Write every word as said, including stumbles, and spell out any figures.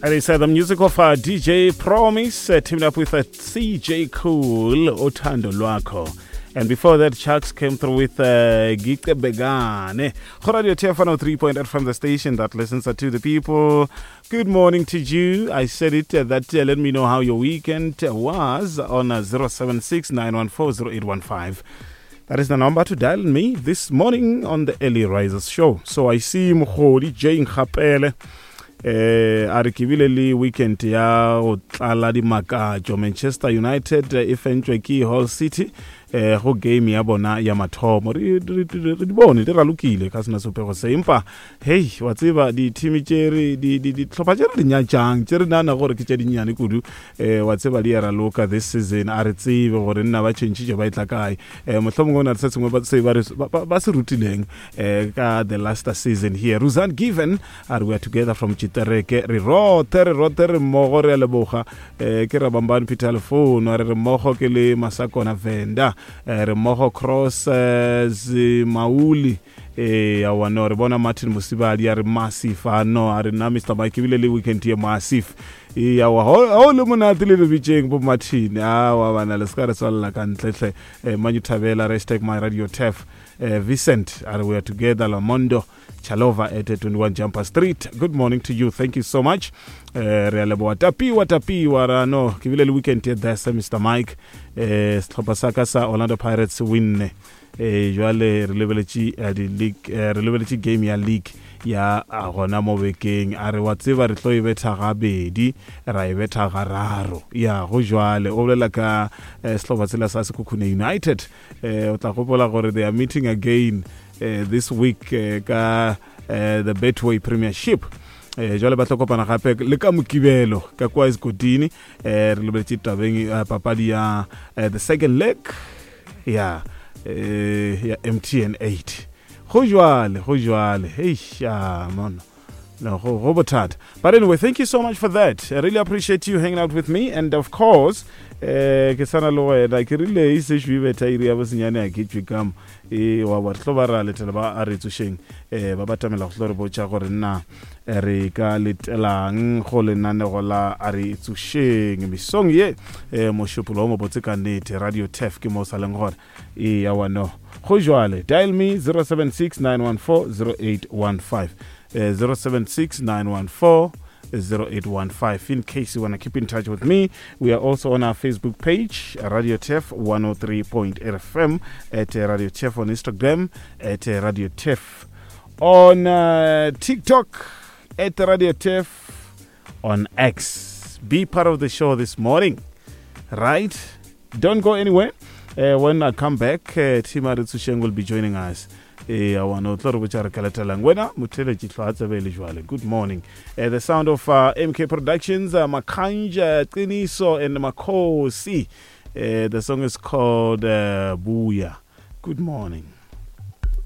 And it's uh, the music of uh, D J Promise uh, teamed up with uh, C J Cool, Uthando Lwakho. And before that, Chucks came through with uh, Gike Begane. Radio T F one oh three point eight from the station that listens to the people. Good morning to you. I said it uh, that uh, let me know how your weekend was on uh, zero seven six, nine one four, zero eight one five. That is the number to dial me this morning on the Early Risers Show. So I see Mkhodi Jane Khapele. Eh, a re ke bile le weekend ya go tlala dimakatšo. Manchester United e fentšwe ke Hull City eh, go game ya bona ya mathomo. Re, re, re, re di bone di ralokile ka sena sopego se, empa hei wa tseba di-team tše re di, di, dihlopha tše re di nyatšang tše re nagana gore ke tše dinnyane kudu, eh, wa tseba di a raloka this season. A re tsebe gore nna ba tšhentšhitše ba e tla kae. Eh, mohlomongwe go na le se sengwe ba se ba re, ba, ba, ba se rutileng, eh, ka the last season here. Ruzan Given a re we are together from Chitereke. Re rote, re rote re mmogo, re a leboga. Eh, ke Rabambane Peter Lefono a re re mmogo ke le Masakona Venda. Eh, re mmogo Cross, eh, Zimauli. Eh, awa no, re bona Martin Mosibadi a re massive. A no, a re nna Mister Mike ebile le weekend ye massive. Eh, awa, ho, ho le monate le lebitšeng bo Martin. Awa, bana, le se ka re tswalela ka ntle hle. Eh, Manyu Thabela, hashtag my radio T F. Eh, Vincent, a re we are together, Lamondo Chalova at twenty-one Jumper Street. Good morning to you. Thank you so much. Eh, re a leboha. Tapiwa, tapiwa, ra no, ke bile le weekend ye desa, Mister Mike. Eh, sehlopha sa ka sa Orlando Pirates winne. Eh, jwale re lebeletše, eh, di league, eh, re lebeletše game ya league ya, a, gona mo bekeng. A re wa tseba re tlo e betha gabedi, ra e betha gararo. Ya, go jwale. O bolela ka, eh, sehlopha sela sa Sekhukhune United. Eh, o tla gopola gore they are meeting again, eh, this week, eh, ka, eh, the Betway Premiership. Eh, jwale ba tlo kopana gape le ka Mokibelo ka kwa Esgodini. Eh, re lebeletše tabeng, eh, papadi ya, eh, the second leg ya, eh, ya M T N eight. Go jwale, go jwale. Hei, ah, mono. No, go, go bothata. But anyway, thank you so much for that. I really appreciate you hanging out with me. And of course, eh, ke sana le wena, ke rile e se šwe betha iri ya bosenyane a ke tšwe ka mo. E, wa bo, re tlo ba ra letela ba a re tsošeng, eh, ba batamela go tlo re botša gore nna, eh, re ka letelang go lenanego la a re tsošeng. Mesong ye, eh, mošupologo o mobotse ka nnete, Radio T F ke mo o sa leng gona. E, ya wa no. Go jwale, dial me zero seven six nine one four zero eight one five. Eh, zero seven six nine one four zero eight one five. In case you wanna keep in touch with me, we are also on our Facebook page, Radio T F one oh three point eight F M, at Radio T F on Instagram, at Radio T F on, uh, TikTok, at Radio T F on X. Be part of the show this morning, right? Don't go anywhere. Uh, when I come back, uh, Tima Ritsusheng will be joining us. Eh, I want to tlo re botša re ka latelang. Wena, motheletši hlwa a tsebe le jwale. Good morning. Uh, the sound of, uh, M K Productions, uh, Makanja, Qiniso, and Makosi. Uh, the song is called, uh, Buya. Good morning.